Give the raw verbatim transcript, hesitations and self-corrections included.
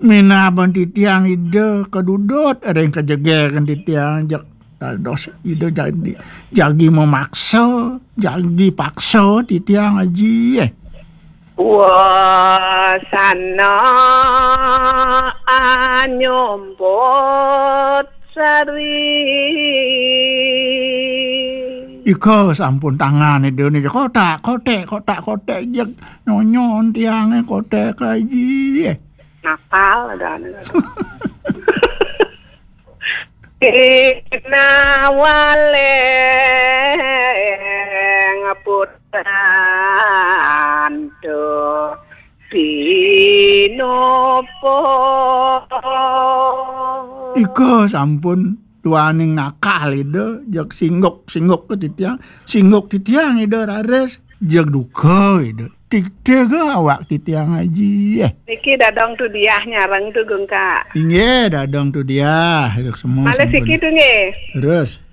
Minaban titiang Ida kadudut, ring kajegeran titiang, jeg dados Ida jagi, jagi memaksa, jagi paksa titiang, Aji, eh. Wasana anyumput sari. Ika sampun tangan Ida niki kotak, kotek, kotak, kotek, jeg nyonyon tiange kotek, Aji, eh. Nakal ada anu. Kinawaleng putantu pinupo. Ika sampun duaning nakal Ida, jeg singguk, singguk ke titiang, singguk titiang Ida raris, jeg duka Ida. Tigtiga awak titiang, Aji, eh. Niki dadong Tudiah nyareng tu, Gungka. Inggih, dadong Tudiah. Malih siki tu, nggih. Terus.